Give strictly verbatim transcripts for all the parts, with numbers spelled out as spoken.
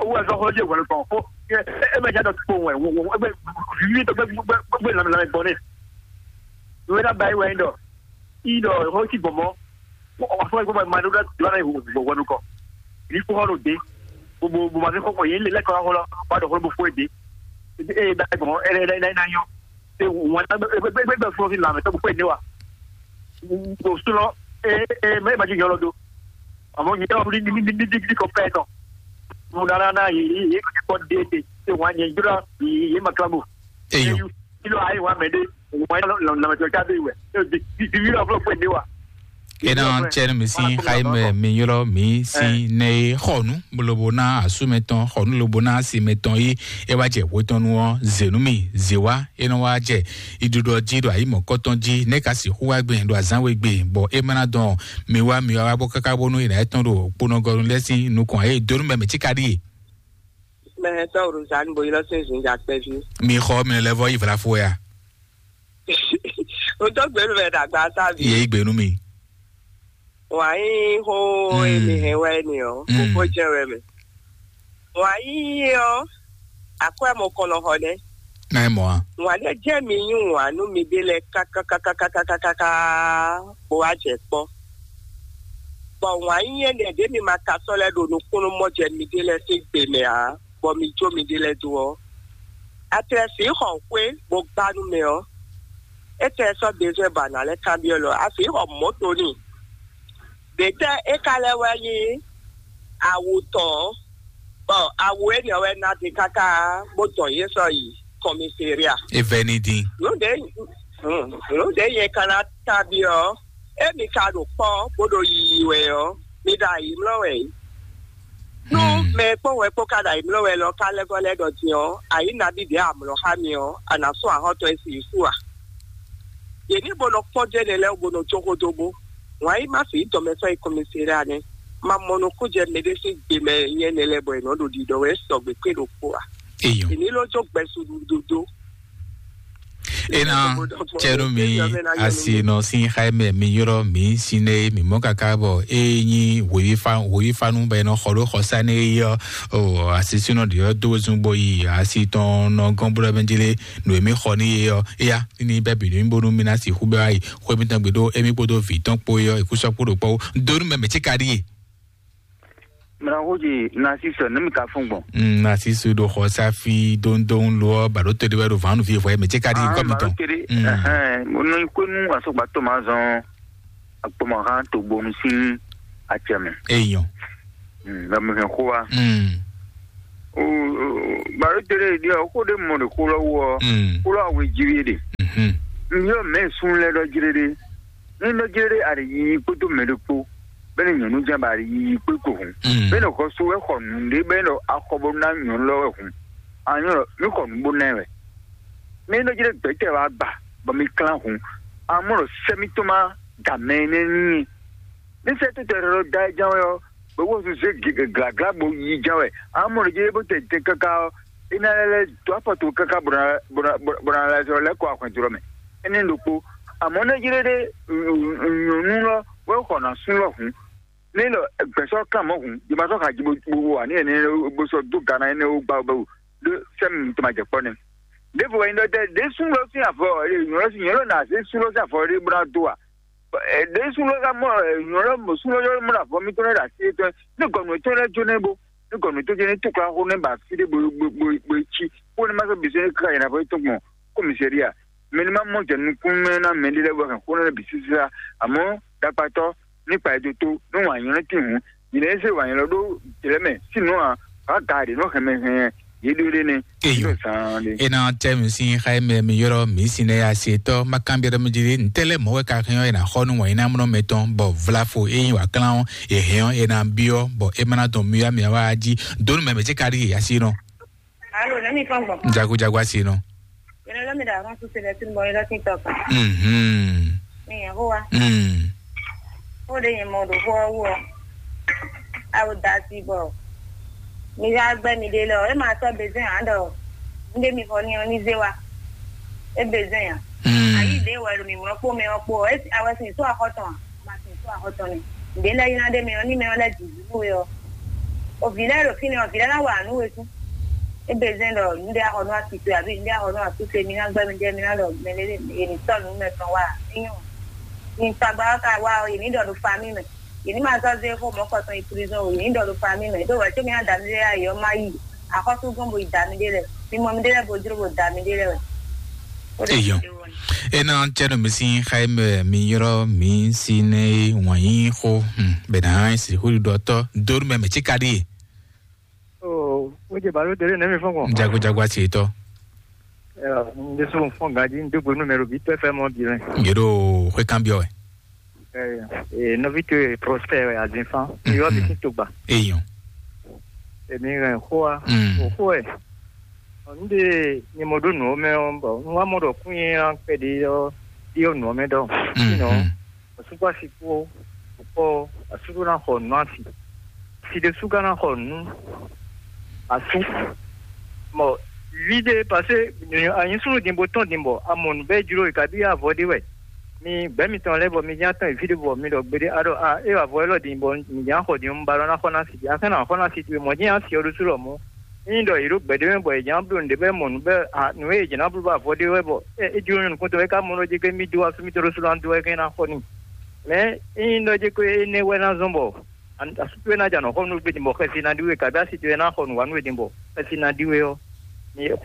Owó ẹ̀ sɔ́ xɔ jẹ́ ìwọ̀n kan. Ó ẹ ẹ mẹ jáde kpó wẹ̀ wọ́n wọ́n ẹgbẹ́ vivi tó gbẹ́ gbẹ́ gbẹ́ lamẹ lamẹ gbọ́n ní. Ìwé náà báyìí wẹ̀ ń dọ̀. Ìdọ̀ ó sì gbọ̀n mọ́. Ọ̀fọ̀ ìgbọ́n máa dúró dúró náà ìwọ̀n wọ́n kọ́. Ní kó hàn ló dé. Gbogbo gbogbo àti kọ́kọ́ yìí lè lẹ́kọ̀ọ́ hàn lọ. Wà á dọ̀ fún gbogbo èdè. Ee báyìí gbọ̀n ẹ ẹ ẹ ẹ yọ. Ee wọ́n ẹgbẹ́ fún ọ sí lamẹ tó gbogbo èdè wa. Kò sún lọ. Ee ee mẹ́rin bá ti yọ lọ do. Àmọ́ nyɛ ɔ́ ní ní ní ní ní kɔ pɛ́ tɔn. Mo ɖa ná ná yě yě yě kɔ dé te te wǎn nyɛ jlɔ́ yě yě ma klabo. Eyɔ. Kí ló ayé wa mɛ dé wǎn lɔ lɔ lɔ tɔ jáde wɛ. Di di di yíyá fúlọ̀ fún èdè wa. Ena tsɛnu mi si xayi mɛ mi ylɔ mi si ne xɔnu lobo na asu mɛ tɔn xɔnu lobo na asi mɛ tɔn yi e wa jɛ hwe tɔn nu ɔ zenu mi ze wa e nɔ wa jɛ iɖuɖɔ jí ɖo ayi mɔ̌kɔtɔn jí ne ka sixú wá gbìn ɖo azán we gbìn bɔ e ma na dɔn mi wá mi wá bó káká bónú yìnyín tɔn ɖo kponɔgɔnu lɛ́ sín nukɔn ayé donu mɛ mi cí ka ɖíe. Mɛ tɔn Rosanne bo ylɔ sín zǐnjà kpɛví. Mi xɔ mi lɛ vɔ yi vlafo ya. O tó gbé nu mɛ dàgbà sábì. Yé gbé nu mi. Wà á yí hó èmi hɛn wá ẹni ɔ kókó jẹ́ wɛ mɛ. Wà á yí ɔ àkọ́ ẹ̀ mọ kɔnɔ xɔ dɛ. Náà mọ̀ á. Wà á dɛ jẹ́ mi yín wà nú mi dé lɛ kákákákákákáká bó wá jẹ kpɔ́. Bɔ wǎn nyí énɛ́ ɖě mi ma ka sɔ́ lɛ́ ɖo nukúnnú mɔ jɛ miɖée lɛ́ɛ sín gbe mɛ ǎ, bɔ mi jó miɖée lɛ́ɛ dó ɔ́, a tlɛ sǐ xɔ xwé bó gbá nú mɛ ɔ́, é tlɛ sɔ́ bezwɛ́ ba nǎ lɛ́ kanbyɔ́ lɔ a sǐ xɔ mɔ̌to n'i. Ɖě tɛ́ é ka lɛ́ wɛ nyí awu tɔn ɔ́, bɔ awu énɛ́ wɛ ná din káká bó dɔn yě sɔ́ yi kɔmiseria. É vɛ́ ní dín. Nǔ ɖě nǔ ɖě nyɛ ka ná kanbyɔ́ ɔ́, émi ka ɖo kpɔ́ bó ɖo yiyi wɛ ɔ́, mi ɖo ayǐmlɔ́ wɛ é. Nú mɛ e kpɔ́n wɛ kpó ka ɖo ayǐmlɔ́ wɛ lɔ ka lɛ́ vɔ́ lɛ́ ɖɔ din ɔ́, ayǐ nabí ɖě amlɔ xá mi ɔ́, a nǎ sɔ́ ahɔ́ntɔn e sin yě su a? Yě ní bó nɔ kpɔ́ dó énɛ́ lɛ́ɛ wú bó nɔ jó xó dó bó. Wǎn yí má fi dɔmɛ sɔ́ yi kɔnmɛsɛ́ ɖé anɛ́. Ma mɔ nukún jɛ mɛɖé sín gbe mɛ nyɛ nɛ lɛ́ɛ bɔ è nɔ ɖo ɖiɖɔ wɛ sɔgbe kpé ɖokpó a? Eyɔn. Èmi ló jó gbɛsu ɖuɖuɖu. Ena tsɛnu mi asi nɔ sin xaimɛ mi ylɔ mi sinɛ mi mɔ kaka bɔ e nyi wòyifanu bɛ nɔ xɔ ɖo xɔsa ne yi ɔ o asisinɔ ɖi ɔ do zun bo yi asi tɔn nɔ gɔn blo ɛmɛ jele nu emi xɔ ni ye ɔ eya ni bɛ bi nu bonu mi na si xu bɛ ayi xɔ emi tɔn gbe ɖo emi kpodo vi tɔn kpo ye ɔ ikusɔ kpo ɖo kpɔ do nu mɛ mɛ tsi ka ɖi ye. Mla xó dzi Narcisse, ne mi ka fún gbɔn. Mm, Narcisse ɖo xɔ safi dondon lo ɔ, baɖo to ɖe wɛ ɖo vanu fi vɔ mɛ ce ka ɖi kɔ mi tɔn. Tere Mm. Ɛhɛn, mo nɔ yi kó nu asɔgba tɔn ma zɔn akpɔmɔhan togbonu sín acɛ mɛ. Eyɔn. Mm, lɔ mi hɛn xó wa. Mm. O, o, baɖo tere ɖi ɔ, xó ɖe mɔ ɖe xó lɔ wɔ. Mm. Xó lɔ awe jí wi ɖe. Mhm. N yɔ mɛ sun lɛ ɖɔ jí ɖe. Ní nɔ jɛ ɖe aɖi yiyi kpódó mɛ ɖokpó, bɛ́ ní nyɔ̌nu jɛ́n ba aɖi yiyi kpé ko hǔn. Mm. Bɛ́ ní xɔ so wɛ xɔ nǔɖé bɛ́ ní axɔ bó ná nyɔ̌nu lɔ wɛ hǔn. Anyɔ́ lɔ, mí xɔ nǔ bó ná ɛ wɛ. Mí nɔ jɛ ɖe gbɛ̌tɛ́ wa gba, bɔ mí klán hǔn. Amɔ́ lɔ sɛ́ mítɔn ma da mɛ énɛ́ n'i. Ní sɛ́ tó tɛ ɖɔ da ɛ ján wɛ ɔ́, bɔ wó zé glagla bó yi ján wɛ. Amɔ́ lɔ jɛ bó tɛ tɛ káká ɔ́, é ná lɛ́ lɛ́ dó afɔ tó káká bó ná bó ná bó ná lɛ́ zɔ lɛ́ kɔ ahwɛn jlɔ́ mɛ. Énɛ́ ɖokpó, amɔ̌ nɛ́ jlé ɖé nyɔ̌nu lɔ wɛ xɔ ná sú lɔ hǔn. Nɛ́ lɔ gbɛ̌sɔ́ kan mɔ̌ hǔn, jɛ ma sɔ́ xa jí bó bó wa ní ɛnɛ bó sɔ́ dó gana énɛ́ wó gbá wó bɛ́ wú ɖó sɛ́ mi tɔn ma jɛ kpɔ́ nɛ́. Ɖěvo wɛ nyí ɖɔ ɖɛ ɖě sú lɔ sín avɔ, nyɔ̌ lɔ sín nyɔ̌ lɔ ná zé sú lɔ sín avɔ ɖé bó ná dó a? Ɖě sú lɔ ká mɔ nyɔ̌ lɔ mɔ sú lɔ yɔ́ mɔ avɔ mitɔn lɛ́ ɖo así tɔn ní gɔ̌nù tɔn lɛ́ jó nɛ́ bó ní gɔ̌nù tɔn jɛ ní túkla xó nɛ́ ba fí ɖé bó bó bó bó cí xó nɛ́ ma sɔ́ bǐ sɔ́ ní ká yɛn avɔ tɔn gbɔn kɔ́misɛ́ria. Mɛ ní ma mɔ jɛ nukún mɛ ná mɛ ɖé lɛ́ɛ bɔ hɛn xó nɛ́ bǐ sísá, amɔ́ ɖakpatɔ́ ní kpa ɛ dó tó ní wǎn nyɔ́ nɛ́ tín hǔn. Nyɛ lɛ́ zé wǎn nylɔ ɖó jlɛ̌ mɛ sín nǔ ǎ, wǎ ga ɖě nɔ hɛn mɛ hɛn yě ɖó ɖé nɛ́. Eyo. Nɔ zaan ɖé. Ena tɛ mi sin xa mɛ mi yɔrɔ mi sin ne ya se tɔ ma kan biara mi jiri ntɛlɛ mɔ wɛ ka hɛn ɔ ena xɔ nu wɔn ina mɔ mɛ tɔn bɔ vlafo eyin wa klan ɔ ehɛn ɔ ena biɔ bɔ emana dɔn mi ya mi wa ji donu mɛ mɛ ce ka di ya si nɔ. Alo, ne mi fɔn gbɔn. Jago jago asi nɔ. Yɛrɛ lɔ mi da kan su sɛbɛ tun bɔ yɛrɛ tin tɔ kan. Mhm. Mi yɛn ko wa. Mm. Ko de yɛn mɔ do fɔ wɔ. Awo da si bɔ. Mi ga gbɛ mi de lɔ, e ma sɔ bezin an dɔ. Nde mi fɔ ni ɔ ni ze wa. E bezin ya. Mm. Ayi de wɛ lo mi mɔ kpo mɛ ɔ kpo. E awɛ sin so akɔtɔn. Ma sin so akɔtɔn ni. Nde lɛ yina de mɛ ɔ ni mɛ ɔ lɛ di zu we ɔ. O vi lɛ ɖo fínɛ́ ɔ, vi lɛ ná wa nǔ we sú. Ébé zɛ́n ɖɔ nǔɖé axɔ nú asitwe abǐ nǔɖé axɔ nú asúse, mi ná gbɛ́ mi jɛ mi ná ɖɔ mɛ lé yě ní sɔ́ nǔ mɛ tɔn wá. É nyɔ́. Mi tagba ɔ́ ka wá ɔ́, yě ní ɖɔ ɖo famí mɛ. Yě ní ma zɔ́ zé xó mɔ̌kɔ tɔn yi prizɔn o, yě ní ɖɔ ɖo famí mɛ. Ɖó wɛ̌ có mi ná da mi ɖé ayǐ ɔ́ má yi axɔ́súgbɔ́n bo yi da mi ɖé lɛ́ɛ. Mi mɔ mi ɖé lɛ́ɛ bo jló bo da mi ɖé lɛ́ɛ wɛ. Eyɔn. Ena tɛnu mi sin xayi mɛ mi yrɔ mi si ne wɔn yi xo. Hmm, bena si xuli dɔ tɔ donu mɛ mɛ ci ka ɖi. Oh, o je balo dele ne mi fɔn kɔn. Jago jago asi tɔ. Nde so fɔn gaji nde gbenu mɛ lo bi tɔ fɛ mɔ bi lɛ. Nge ɖo xwe kan biɔ wɛ. Eh, eh, nɔvi to ye Prosper wɛ Azinfan. Yɔ bi sin togba. Eyɔn. Èmi hɛn xó wa. Mm. O xó ɛ. Nde ni mo ɖo nǔ mɛ ɔ bɔ n wa mɔ ɖɔ kún yɛ kpɛɖe ɔ ɖi ɔ nǔ mɛ ɖɔ. Sinon, osukpɔ asi kpó, kpó asúɖó ná xɔ nǔ asi. Si ɖésú ka ná xɔ nǔ asú. Mɔ vi ɖé parce que anyi súnnu din bó tɔn din bɔ amɔ nǔ bɛ́ jló e kabi avɔ ɖé wɛ. Mi gbɛ́ mitɔn lɛ́ɛ bɔ mi ján tɔn yi fí ɖé bɔ mi ɖɔ gbeɖé aɖɔ a é avɔ élɔ́ din bɔ mi ján xɔ din un ba lɔ ná xɔ ná si a kɛn ná xɔ ná si towe mɔ jɛ́n asi ɔ́ ɖó sú lɔ mɔ. Ényí ɖɔ yě ɖo gbɛ̌ ɖé mɛ bɔ yě ján bló nǔɖé bɔ é mɔ nǔ bɛ a nǔ e yě ján bló bɔ avɔ ɖé wɛ bɔ é é jló nyɔ̌nu kúntɔn é ká mɔ ɖɔ jɛ kɛ mí dó asú mítɔn ɖó sú lɔ dó wɛ kɛn ná xɔ n'i. Mɛ ényí ɖɔ jɛ kó énɛ́ wɛ ná zɔ́n bɔ asú towe ná jɛ anɔ̌ xɔ nú we din bɔ xɛsi ná ɖi we kabi asi towe ná xɔ nǔ wa nú we din bɔ xɛsi ná ɖi we ɔ́.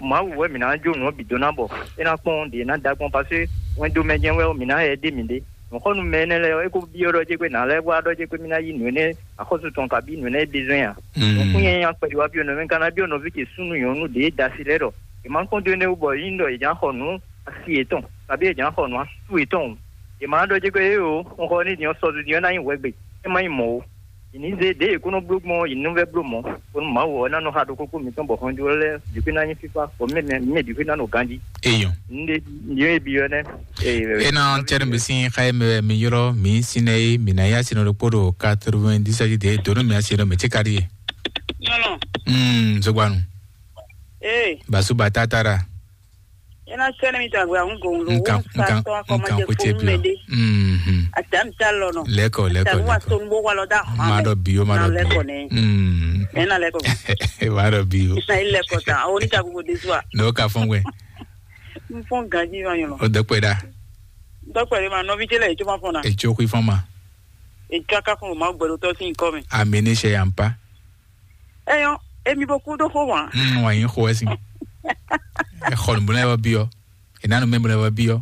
Mawu wɛ mǐ ná jó nǔ ɔ́ bǐ dó ná bɔ é ná kpɔ́n ɖě ná da gbɔn pasé wɛn dó mɛ jɛ́n wɛ ɔ́ mǐ ná yɛ ɖé mǐ ɖé. Nǔxɔnú mɛ énɛ́ lɛ́ɛ ɔ́, é ko byɔ́ ɖɔ jɛ́ kwe nǎ lɛ́ wá ɖɔ jɛ́ kwe mì ná yí nǔ énɛ́ axɔ́sú tɔn kabí nǔ énɛ́ é bǐ zɔ́n nya. Nǔkún nyanya kpɛɖi wá byɔ́ nɔví ka ná byɔ́ nɔví ce súnnu nyɔ̌nu ɖě e da asi lɛ́ɛ ɖɔ è ma kɔn dó énɛ́ wú bɔ é nyí ɖɔ è jǎ xɔ nǔ asi yětɔn kabí è jǎ xɔ nǔ asú yětɔn o. È ma ɖɔ jɛ́ kwe é o, un xɔ ní din ɔ́ sɔzu din ɔ́ ná nyí hwɛgbe, é má nyí mɔ̌ o. Yě ní zé ɖěe è kó nɔ bló gbɔn ɔ́, yě ní vɛ́ bló mɔ̌, bónú Mawu ɔ́ ná nɔ xa ɖokpó kpó mǐtɔn bɔ hɔnjlɔ́ lɛ́ɛ bǐ xwé ná nyí fífá, bɔ mɛ mɛ mɛ bǐ xwé ná nɔ ganjí. Eyɔn. Nde nde e bi ɔ́ nɛ. Ena tɛnu mi sin xayi mɛ mi yɔrɔ mi sin ne mi na ya sin ɖokpó ɖo quatre-vingt-dix de donu mi asi ɖo mi ti ka ɖi ye. Nyɔnɔ. Mm, zogbanu. Ee. Basu batata ra. Ena sɛnɛ mi tagbe ahun gɔn lo. Nkan nkan nkan ko tse bi. Mhm. Atam ta lɔ nɔ. Leko leko leko. Wa ton bo wa lɔ da. Ma do bio ma do bio. Mm. Ena leko. Ma do bio. Sa leko ta. O ni ta go de swa. No ka fɔn we. N fɔn ganji ma yɔn. O dɔkpɛ da. Dɔkpɛ de ma nɔvi tele e tso ma fɔn na. E tso kui fɔn ma. E tso aka fɔn ma gbɛdo tɔ sin kɔ mi. Amini se yampa. Eyɔn, emi bo kú dó xó wan. Mm, wa yin xo esi. E xɔ nu bla wa biɔ. E nanu me bla wa biɔ.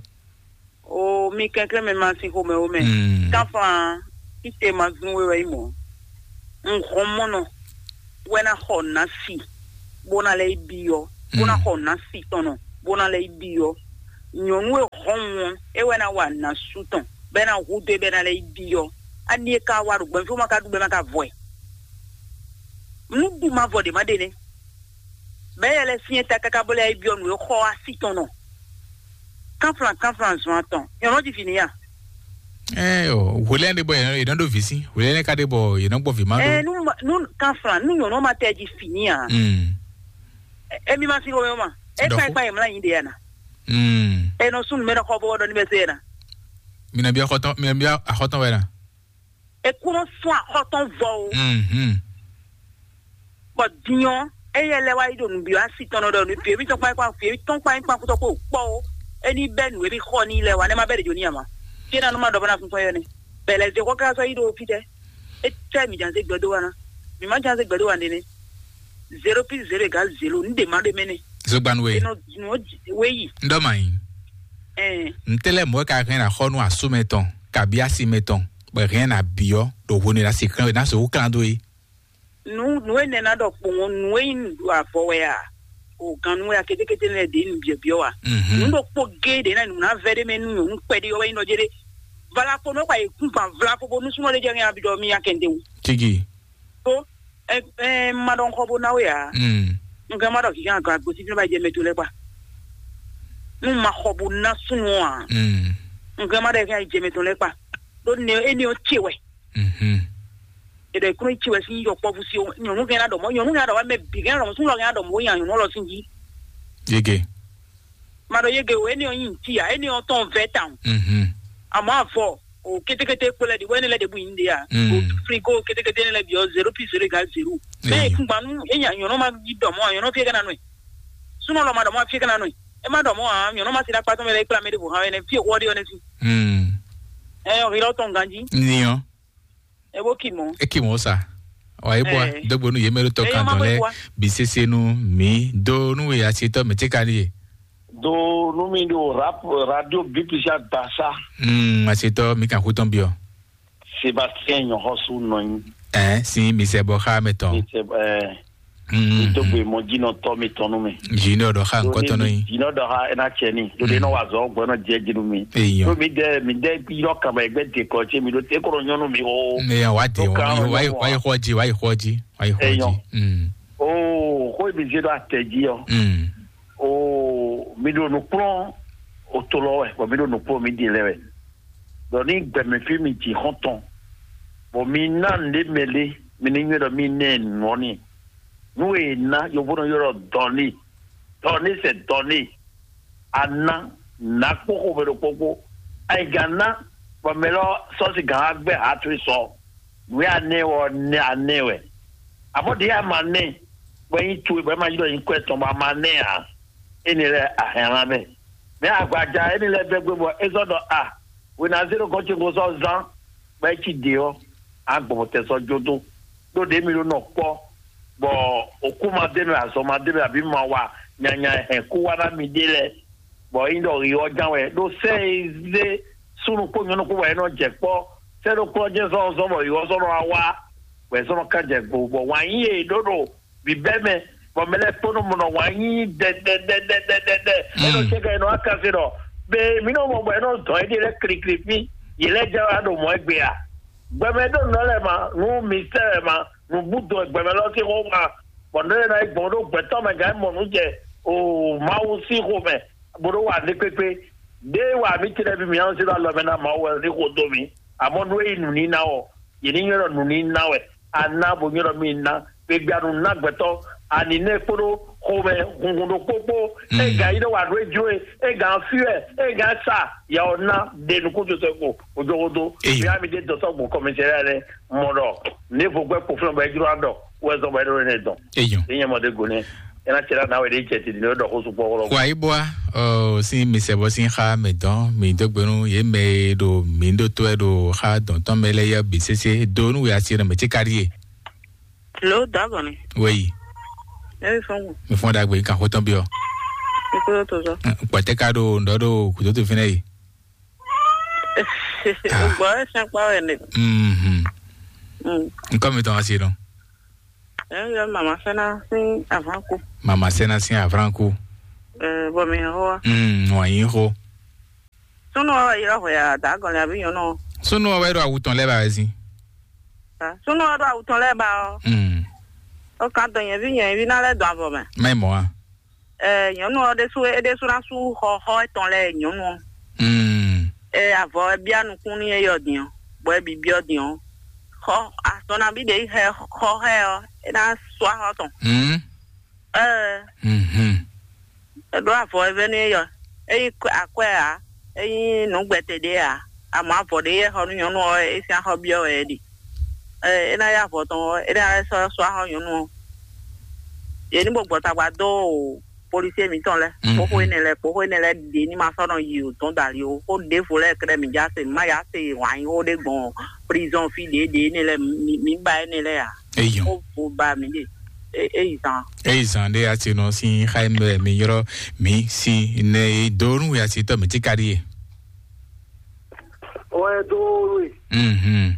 O mi kɛnklɛn mɛ ma si xomɛ o mɛ. Mm. Kanfan, ite ma zun we wɛ yi mɔ. N xɔ mɔnɔ wɛ na xɔ na si, bó na lɛ yi biɔ, bó na Mm. xɔ na si tɔnɔ, bó na lɛ yi biɔ. Nyɔnu e xɔ wɔn, e wɛ na wa na su tɔn, bɛ na hu do e bɛ na lɛ yi biɔ. Ani e ka wa ɖo gbɛnfo ma ka ɖu bɛ ma ka vɔ ɛ. Nu ɖu ma vɔ ɖe ma ɖe nɛ. Bɛ yɛ lɛ fiɛ ta kaka bó lɛ yi biɔ nu e xɔ asi tɔn nɔ. Kanflan kanflan zɔn atɔn. Nyɔnu di fini ya. Ɛ o, hwelɛ ɖe bɔ yɛn yɛn ɖo vi si. Hwelɛ ka ɖe bɔ yɛn gbɔ vi ma Ɛ ɖo. nu ma- nu kanflan nu nyɔnu ma tɛ di fini ya. Mm. Emi ma si ko ma. E Dɔfo. kpa e kpa e mla yin de ya na. Mm. E nɔ sun mɛ nɔ xɔ bɔ dɔ ni bɛ se ya na. Mina bia xɔtɔn, mina bia axɔtɔn wɛ na. E kúnɔ sún axɔtɔn vɔ o. Mhm. Bɔ dinyɔ, eyɛ lɛ wa yi ɖo nǔbyɔ́ asi tɔn nɔ ɖɔ nǔ fi ebi tɔn kpa kpa fi ebi tɔn kpa kpa kutɔ kpo kpɔ o. Eni bɛ nǔ ebi xɔ ni lɛ wa ne ma bɛ ɖe jo ni ama. Fi na nu ma ɖɔ bɔ na fun fɔ yɔ ne. Bɛlɛ ze xɔ ka sɔ yi ɖo fi tɛ. E tɛ mi jan se gbɛdo wa na. Mi ma jan se gbɛdo wa ne ne. Zero pi zero egal zero. N de ma ɖe mɛ ne. Zogbanu we. Enɔ nu we yi. Ndɔ ma yi. Ɛn. Ntɛlɛ mɔ ka hɛn na xɔ nu asu mɛ tɔn, kabi asi mɛ tɔn. Bɛ hɛn na biɔ ɖo hwenu la si kan na so kan do yi. Nu nu ene na ɖɔ kpowɔn nu e nyi nu ɖo avɔ wɛ a, o gan nu wɛ a ketekete lɛ ɖe nu biɔbiɔ wa. Mhm. Nu ɖo kpo ge ɖe na nu na vɛ ɖe mɛ nu nyɔnu kpɛɖe wɛ nyi nɔ jɛ ɖe. Vala kpo nɔ kpa yi kun fan vla kpo bo nu sunɔ ɖe jɛ ŋɛ abi ɖɔ mi ya kɛnde wu. Tigi. To ɛ ɛ ma ɖɔ ŋkɔ bo na we a. Mm. Nka ma ɖɔ kikan ka gosi fi ma jɛ mɛ to lɛ kpa. Nu ma xɔ bo na sunu a. Mm. Nka ma ɖɔ kikan jɛ mɛ to lɛ kpa. Ɖo ne e ne o tse wɛ. Mhm. Eɖe kúrò tsi wɛ sín yɔ kpɔ́ fúsi o nyɔnu kɛn adɔmɔ nyɔnu kɛn adɔmɔ mɛ bi kɛn adɔmɔ súnlɔ kɛn adɔmɔ wó nya nyɔnu ɔlɔ sín jí. Yege. Ma ɖɔ yege o eni ɔ nyi ntí ya eni ɔ tɔn vɛ tawun. Mhm. Àmọ́ àfɔ o kétékété kpó lɛ di wɛni lɛ de bu yin de ya. Mm. O frigo kétékété lɛ bi ɔ zero pi zero ga zero. Mɛ Eyi. Kungbanu enya nyɔnu ma yi dɔmɔ nyɔnu fie kana nɔɛ. Súnlɔ ma dɔmɔ fie kana nɔɛ. E ma dɔmɔ a nyɔnu ma si na kpatɔ mɛ lɛ kpla mɛ de bo hã wɛ nɛ fie wɔ de ɔ nɛ si. Mm. Ɛ ɔ hilɔ tɔn ganji. Niyan. E bo ki mɔ. E ki mɔ sa. Wa e bɔ Eh. Dogbo nu ye mɛ ɖo tɔ Eh, kan ma dɔn bo lɛ bua. Bi sese nu mi do nu we asitɔ mɛ tse ka ni ye. Do nu mi ɖo rap radio bipisa dasa. Mm, asitɔ mi kan xutɔn biɔ. Sébastien Nyɔxɔsu nɔ nyi. Ɛ si mi sɛ bɔ xa mɛ tɔn. Mi sɛ ɛ Mm. Mi dó gbe mɔ jinɔ tɔ mi tɔn nu mi. Jinɔ dɔ xa nkɔ tɔn nɔ yi. Jinɔ dɔ xa ena cɛ ni. To de nɔ wa zɔ gbɔ nɔ jɛ jinu mi. Eyɔn. To mi dɛ mi dɛ yɔ kama egbe de kɔ ce mi do te kɔrɔ nyɔnu mi o. Ne yan wa de To wɔn kan mi wa yi nyɔnu wa yi wa. Xɔ ji wa yi xɔ ji wa yi xɔ Eyɔn. Ji. Mm. O ko mi se do atɛ ji yɔ. Mm. O mi do nukplɔn o to lɔ wɛ bɔ mi do nukplɔn mi di lɛ wɛ. Dɔ ni gbɛmɛ fi mi ji xɔntɔn. Bɔ mi na nde mɛ le mi ni nyuɛ dɔ mi nɛ nɔ ni. Nu e ná yovo nɔ ylɔ́ dɔn ní, dɔn ní sɛ dɔn ní. A ná, ná kpó xomɛ ɖokpó kpó. Ayiga ná, bɔ mɛ lɔ sɔ́ si gǎn wá gbɛ́ ha towe sɔ. Nǔ e a nɛ wɛ ɔ́, nɛ a nɛ wɛ. Amɔ̌ ɖě a ma nɛ, bɔ é nyí towe, bɔ é ma nyí ɖɔ nyí kwɛ́ tɔn, bɔ a ma nɛ ǎ. Énɛ́ lɛ́ɛ a hɛn ná mɛ. Mɛ agbaja énɛ́ lɛ́ɛ bɛ́ gbé bɔ é zɔ́ ɖɔ a, hwenazéɖokɔ́ ce ko sɔ́ zán, bɔ é cí ɖě ɔ́, a gbɔ bɔ tɛ sɔ́ jó dó. Ɖó ɖě mi ɖó nɔ kpɔ́, bɔ òkú ma dé mɛ, azɔn ma dé mɛ, abǐ ma wa nyanya hɛn kú wá ná mi ɖé lɛ́ɛ, bɔ é nyí ɖɔ yi ɔ́ ján wɛ. Ɖó sɛ́ e zé súnnu kpó nyɔ̌nu kpó bɔ é nɔ jɛ kpɔ́, sɛ́ ɖokpó ɔ́ jɛ́n zɔ́n zɔ́n bɔ yi ɔ́ zɔ́n nɔ wá wá, bɔ é zɔ́n nɔ ká jɛ gbo, bɔ wǎn yí e ɖó ɖo bǐbɛ́ mɛ, bɔ mɛ lɛ́ɛ kpó nɔ mɔ nɔ wǎn yí dɛdɛdɛdɛdɛdɛ. Ɛ nɔ Mm. cɛ kɛ nɔ wá ká se ɖɔ be mǐ nɔ mɔ bɔ é nɔ dɔn éɖée lɛ́ɛ klikli fí, yě lɛ́ɛ jɛ wá ɖo mɔ̌ égbé a? Gbɛmɛ ɖó nǔ lɛ́ɛ ma, nú mǐ sɛ́ lɛ́ɛ ma, nǔ bú dɔn gbɛmɛ lɔ sín xó ma, bɔ nǔ lɛ́ɛ ná yi gbɔn ɖó gbɛtɔ́ mɛ gǎn mɔ nǔ jɛ o Mawu sín xomɛ, bó ɖó wa ní kpékpé. Ɖěe wa mǐ ce lɛ́ɛ bǐ mǐ nɔ zé ɖo alɔ mɛ ná Mawu wɛ ní xo dó mǐ, amɔ̌ nú é nyí nǔníná ɔ́, yě ní nywɛ́ ɖɔ nǔníná wɛ. A ná bó nywɛ́ ɖɔ mí ná, gbegbeanu ná gbɛtɔ́, aninɛ kpódó xomɛ hunhun ɖokpó kpó. Mm. Ega yi ɖɔ wǎ ɖó é jló e, ega fí wɛ, ega sa, ya ɔ́ ná ɖe nukúnso sɛ ko ojogodo. Eyo. Mía mi ɖe dɔtɔ gbɔn kɔmɛsɛri lɛ mɔ ɖɔ ne vo gbɛ kpo flɔn bɔ é jló adɔ wɛ zɔn bɔ é ɖo ne dɔn. Eyo. Enye mɔ de go ne ena cɛ la na wɛ de cɛ ti ne ɖɔ xó sukpɔ wɔlɔ. Wa yi bua, o si mi sɛ bɔ si xa mɛ dɔn mi do gbenu ye mɛ ɖo mi ɖo to ɛ ɖo xa dɔn tɔn mɛ lɛ yɛ bi sese do nu ya si ne mɛ ti kari ye. Lo dagɔnni. Wei. Ebi fɔn mo. Mi fɔn dagbe kan xotɔn bi ɔ. Ikú yóò tó sɔ. Kpɔtɛ ka ɖo ŋdɔ ɖo kòtòtò fínɛ yi. Gbɔ ɛ sɛn kpa wɛ ne. Mhm. Mm. Nkɔ mi tɔn asi nɔ. Ɛ yɔ mama sɛnɛ sí avlan ko. Mama sɛnɛ sí avlan ko. Ɛ bɔ mi hɔ wa. Mm, wà yín xo. Súnú ɔ́ wɛ ylɔ́ hwɛ a dǎgɔn lɛ abǐ nyɔ̌nu ɔ́? Súnú ɔ́ wɛ ɖo awu tɔn lɛ́ɛ ba wɛ sín. Súnú ɔ́ ɖo awu tɔn lɛ́ɛ ba ɔ́. Mm. Ó kan dɔn nyɛ̌ví nyɛ̌ví ná lɛ́ dɔn avɔ mɛ. Má yi mɔ a? Ɛ nyɔ̌nu ɔ́ ɖésú é ɖésú ná sú xɔ xɔ étɔn lɛ́ɛ nyɔ̌nu ɔ́. Mm. Ɛ avɔ ɛ bíá nukún n'i é yɔ din ɔ́, bɔ é bǐ byɔ́ din ɔ́, xɔ azɔn nabí ɖě yi xɛ xɔ xɛ ɔ́, é ná sú axɔ tɔn. Mm. Ɛɛ. Mhm. Eɖó avɔ e vɛ́ nú éyɔ. Ényí akwɛ́ ǎ, ényí nǔgbɛtɛ́ ɖé ǎ, amɔ̌ avɔ ɖé yɛ xɔ nú nyɔ̌nu ɔ́, é sín axɔ byɔ́ wɛ é ɖe. Ɛ é ná yá avɔ tɔn ɔ́, é ná lɛ́ sɔ́ sɔ́ axɔ nyɔ̌nu ɔ́. Yě ní bo gbɔ tagba dó policier mǐtɔn lɛ́ɛ, kpóxó énɛ́ lɛ́ɛ, kpóxó énɛ́ lɛ́ɛ ɖě ní ma sɔ́ nɔ yi o dɔn dali o. Xó ɖěvo lɛ́ɛ kɛ́ɖɛ́ mǐ já se, mǐ má yá se wǎn yí xó ɖé gbɔn prison fí ɖě ɖě énɛ́ lɛ́ɛ, mǐ mǐ ba énɛ́ lɛ́ɛ ǎ. Eyɔn. Ó vo ba mǐ ɖe. É é yi zan. Eyi zan ɖé atinɔ sín xá mi wɛ mi ylɔ́ mi si ne e dó nú yasitɔ mi tika ɖíe. Wɛ dó we. Mhm.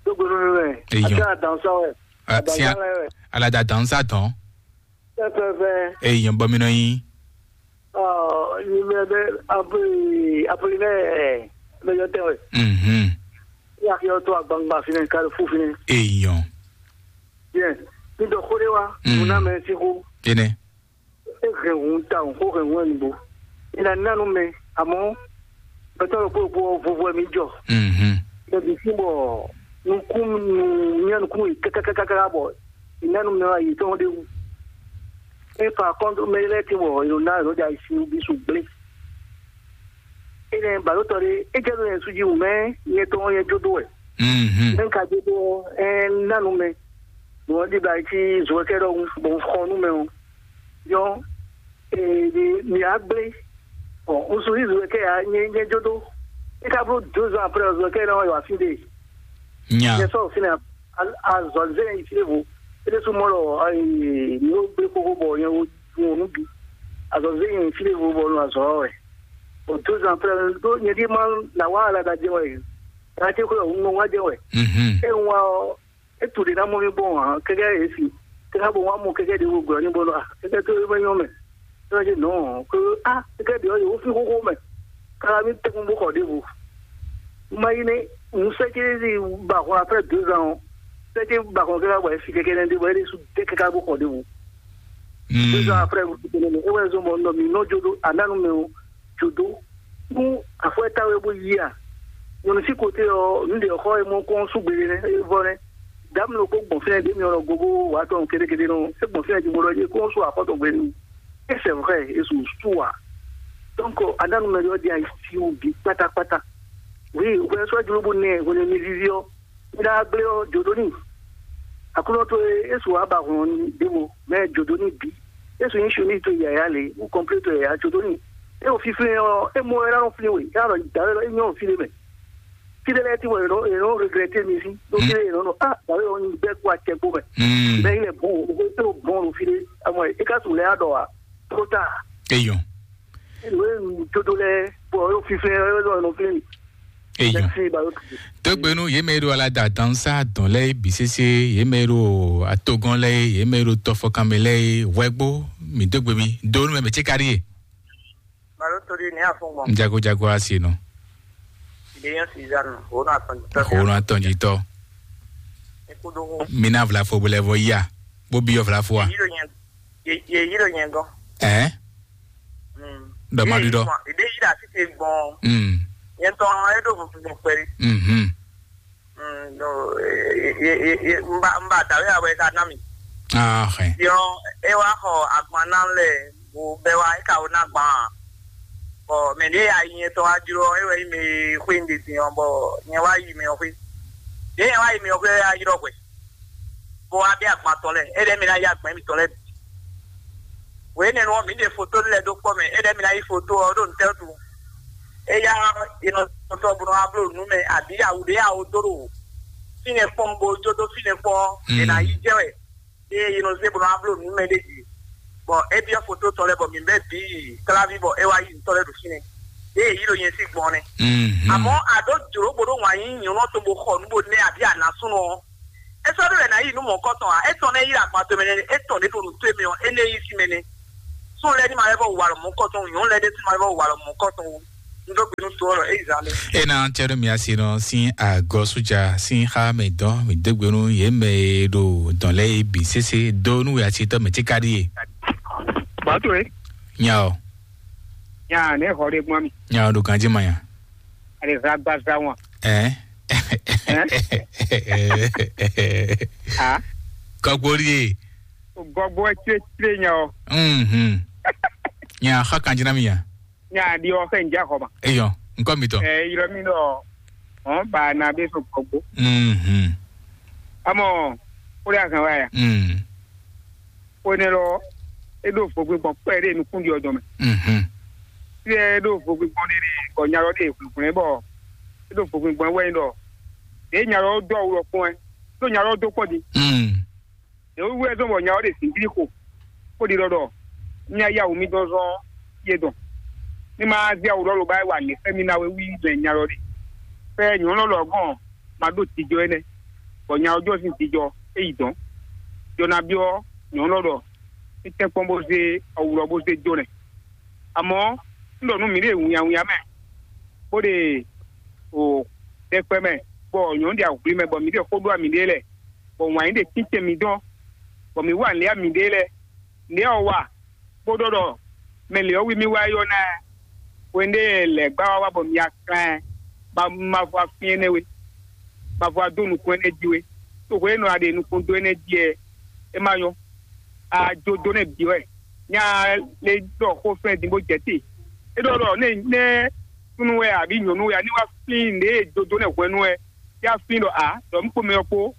Dó gbé nú mi wɛ. Eyɔn. Ati adansa wɛ. Ati adansa wɛ. Alada dansa dɔn. Pɛpɛpɛ. Eyɔn bɔ mi nɔ yin. Ɔ, numéro deux, Apoli-, Apollinaire, ɛ, mɛ yɔ tɛn wɛ. Mhm. Ya yɔ to agbangba fínɛ, Carrefour fínɛ. Eyɔn. Bien. Mi dɔ xó ɖé wá, Mm. nǔ ná mɛ sín xó. Énɛ́. É hɛn hun ta, xó hɛn hun wɛ nǔgbó. É ná ná nú mɛ, àmọ́, gbɛtɔ́ ɖokpó ɖokpó ɔ́, vovo wɛ mǐ jɔ. Mhm. Mɛ bǐ sín bɔ nukún, nu, mía nukún yi kákákáká bɔ, è ná nú mɛ wá yi tɔn ɖé wú. É par contre, mɛ lɛ́ɛ tín bɔ è nɔ ná è nɔ ɖe ayisi nú bí su gblé. Énɛ́ bǎɖótɔ́ ɖé, é jɛ nú nyɛ sú jí wǔ mɛ, nyɛ tɔn nyɛ jó dó wɛ. Mhm. Mɛ un ka jó dó ɔ́, é ná nú mɛ. Bɔ un ɖi bla cí zɔ̌kɛ́ ɖɔhun, bɔ un xɔ nú mɛ ɔ́. Nyɔ, ee, mi á gblé. Bɔ un sú yí zɔ̌kɛ́ ǎ, nyɛ nyɛ jó dó. É ka bló deux ans après, zɔ̌kɛ́ ná wá yi wá fí ɖé. Nya. Nyɛ sɔ́ fínɛ́ azɔ̌ zé yi fí ɖěvo. É ɖésú mɔ ɖɔ, ee, mi ó gblé xóxó bɔ nyɛ wo ɖun nǔ bǐ. Azɔ̌ zé yi fí ɖěvo bɔ un azɔ̌ ɔ́ wɛ. Bon, deux ans après, ɖó nyɛ ɖíe má ná wá alada jɛ wɛ. Ná ce xwé ɔ́, un nɔ wá jɛ wɛ. Mhm. É un wá ɔ́, é tu ɖě ná mɔ mì gbɔn ǎ, kɛkɛ é si. Kɛkɛ bɔ wá mɔ kɛkɛ ɖě wo gbɛ ɔ́ ní bɔ nɔ a, kɛkɛ tó é mɛ nyɔ mɛ. É wá jɛ nɔ, kó a, kɛkɛ ɖě ɔ́, yě wó fín xóxó mɛ. Kára mì tɛkún bó xɔ ɖěvo. Má yi nɛ, un sɛ ce ba hɔn après deux ans ɔ́. Sɛ ce ba hɔn kɛkɛ bɔ é fi kɛkɛ nɛ ɖě bɔ é ɖésú dé kɛkɛ bó xɔ ɖěvo. Mm. Deux ans après, é wɛ zɔn bɔ nɔ mì nɔ jó ɖó anánu mɛ o. Jǒdó nú afɔ́ e táwe bó yí a? Nyɔ̌nu sín kote ɔ́, nǔɖé xɔ e mɔ kɔn sú gbeɖé nɛ́, é vɔ nɛ́. Dǎmlo kó gbɔn fínɛ́ ɖě myɔ gogo wǎ tɔn kéɖékéɖé nɔ, é gbɔn fínɛ́ jibo ɖɔ jí kó sú afɔ tɔn gbe nú. É sɛ vrɛ, é su sú ǎ. Donc, aɖánu mɛ ɖɔ ɖi ayi si wú bǐ kpátákpátá. Oui, hwɛ sɔ́ jló bó nɛ hwenu e mi víví ɔ́, mi ná gblé ɔ́, jǒ ɖó n'i. Aklúnɔ towe, é su wǎ ba hɔn ɖěvo, mɛ jǒ ɖó n'i bǐ. É su nyí sunníto yǎyá lě, wú kɔnplé towe yǎyá jǒ ɖó n'i. É o fínfín ɔ́, é mɔ wɛ ná nɔ flín we, é nɔ ɖɔ dǎwe lɔ, é nyɔ́ fí ɖé mɛ. Fí ɖé lɛ́ɛ tí wɔ è nɔ, è nɔ regrɛté mi sí, ɖó fí ɖé è nɔ nɔ, ah, dǎwe lɔ nyí bɛ́ kú acɛ kpó mɛ. Mm. Bɛ́ yi lɛ bɔn, o ko tó bɔn ɖo fí ɖé, amɔ é ka su lɛ á ɖɔ a, tó ta. Eyɔn. Nǔ e un jó dó lɛ́ɛ, bɔ é ɖo fínfín, é ɖo nɔ flín mi. Eyɔn. Mɛsi, balo. Tógbénu yě mɛ e ɖo alada dansa dɔn lɛ́ɛ bǐ sésé, yě mɛ e ɖo atogɔn lɛ́ɛ, yě mɛ e ɖo tɔfɔkanmɛ lɛ́ɛ, hwɛgbo, mǐ dó gbe mi, dó nú mɛ mɛ cé kárí e. Balo to ɖi ní afɔngbɔn. Jago jago asi nɔ. Ìdè yẹn Suzanne, òun náà tɔn jítɔ. Òun náà tɔn jítɔ. Ikú dó hó. Mi ná vlafo bó lɛ vɔ yá, bó byɔ́ vlafo a. Yìí ló yẹn, yìí ló yẹn gán. Ẹ́. Dɔ ma ɖi ɖɔ. Ìdè yìí la títí gbɔn. Mm. Yẹn tɔn ẹ ɖo funfun gbɔn pẹ̀lú. Mhm. Mm, no, e, e, e, e, e, n ba, n ba dawe awɛ ka ná mi. Ah, ok. Yɔ, e wa xɔ agban ná lɛ, wo bɛ wa, e ka wo ná gban. Bɔ mɛ ɖe ya yi nyɛ tɔ wa jlo, e wɛ yi mɛ xwe n de sin ɔ, bɔ nyɛ wa yi mɛ ɔ xwe. Ɖe nyɛ wa yi mɛ ɔ xwe ya ylɔ hwɛ. Bɔ wa bɛ agban tɔn lɛ, e lɛ mi ná ya agban mi tɔn lɛ. Wěnɛnu ɔ́, mǐ ɖe foto lɛ́ɛ ɖó kpɔ́ mɛ, é ɖɛ́ mi ná yí foto ɔ́ ɖó nǔtɛ́wútu? Éyá ɔ́, è nɔ tɔtɔ bó nɔ wá bló nǔ mɛ, abǐ awu ɖé awo dó ɖo wǒ. fínɛ́ kpɔ́n bó jó dó fínɛ́ kpɔ́n, è nǎ yi jɛ wɛ. Ée yi nɔ zé bó nɔ wá bló nǔ mɛ ɖé jí. Bɔ é byɔ́ foto tɔn lɛ́ɛ bɔ mǐ bɛ́ bǐ kláví bɔ é wá yi nǔ tɔn lɛ́ɛ ɖo fínɛ́. Ée yi ɖo nyɛ sí gbɔn nɛ́. Àmọ́ a ɖǒ jlǒ bó ɖó wǎn yí nyɔ̌nu ɔ́ tɔn bó xɔ nǔ bó nɛ́ abǐ a nǎ súnnu ɔ́, é sɔ́ ɖó wɛ ná yi nú mɔ̌kɔtɔn ǎ. É tɔn nɛ́ yi ɖo agban tɔn mɛ nɛ́, é tɔn ɖě ɖo nǔ towe mɛ ɔ́, é nɛ́ yi sí mɛ nɛ́. Súnnu lɛ́ɛ ní ma lɛ́ vɔ wa lɔ mɔ̌kɔtɔn wú, nyɔ̌nu lɛ́ɛ ɖésú ma lɛ́ vɔ wa lɔ mɔ̌kɔtɔn wú. Un dó gbe nú to ɔ́ ɖɔ é yi zán lé. Ena tsɛɖo mia si nɔ sin agɔ suja sin xa mɛ dɔn mi dégbe nú yě mɛ e ɖo dɔn lɛ yi bǐ sese do nú ya si tɔ mɛ tí ka ɖi ye. Bàtò é. Nya o. Nya ne xɔ ɖe gbɔn mi. Nya o ɖo ganji ma nya. Ale za gba za wọn. Ɛ. Ah. Kɔkpori ye. Gɔgbɔ ɛ tire tire nya o. Mhm. Nya xa kanji na mi nya. Nya ɖi ɔ xɛ nja xɔ ma. Eyɔ, nkɔ mi tɔ. Ɛ ylɔ mi ɖɔ ɔn ba na be so gbɔgbɔ. Mhm. Amɔ o de azan wa ya. Mm. O ne lɔ e ɖo vogbe gbɔn kpɛ ɖe nukun ɖi ɔdɔ mɛ. Mhm. Ti ɛ ɖo vogbe gbɔn ɖe ɖe bɔ nya lɔ ɖe hwlɛhwlɛ bɔ e ɖo vogbe gbɔn wɛ ɖɔ ɖe nya lɔ dɔ awu lɔ kpɔn ɛ ɖo nya lɔ do kpɔn di. Mm. Ɖě wú wɛ zɔ́n bɔ nya ɔ́ ɖe zǐngídi xo, bó ɖiɖɔ ɖɔ: "Mí ná yá wǔ mì dɔn zɔ́n yé dɔn, ní má zé awu ɖɔ lobá wa nǔ e xlɛ́ mì ná wɛ wí mɛ nya lɔ ɖe." Fɛ́ nyɔ̌nu lɔ gɔ́n ma ɖó jijɔ énɛ́, bɔ nya ɔ́ jɔ sín jijɔ é yi dɔ̌n. Jɔ ná byɔ́ nyɔ̌nu lɔ ɖɔ: "Ní tɛ́nkpɔ́n bó zé awu lɔ bó zé jó nɛ́." Amɔ̌, un ɖɔ nú mǐɖée winnyawinnya mɛ, bó ɖe o ɖɛkpɛ mɛ, bɔ nyɔ̌nu ɖe ahwli mɛ, bɔ mǐ ɖe xó ɖó mǐɖée lɛ́ɛ, bɔ wǎn yí ɖe títɛn mǐ dɔn, bɔ mǐ wa nǔ lɛ́ɛ mǐɖée lɛ́ɛ. Nǔɖé ɔ́ wa, bó ɖɔ ɖɔ mɛ lě ɔ́ wi mì wá yi ɔ́ ná ɛ. Hwenu ɖé lɛ̌ gbá wá wá bɔ mi aklán ɛ, ma ma vɔ afín énɛ́ we, ma vɔ adó nukún énɛ́ jí we. Tó hwenu e nɔ a ɖe nukún dó énɛ́ jí ɛ, é ma nyɔ́. A jó dó nɛ́ bǐ wɛ. Nya le ɖɔ xó fɛ́n din bó jɛ te. É ɖɔ ɖɔ nɛ nɛ súnnu wɛ abǐ nyɔ̌nu wɛ a ní wá flín nǔɖé e jó dó nɛ́ hwɛ̌nu wɛ, yá flín ɖɔ ǎ, ɖɔ mǐ kpó mɛ ɔ́ kpó,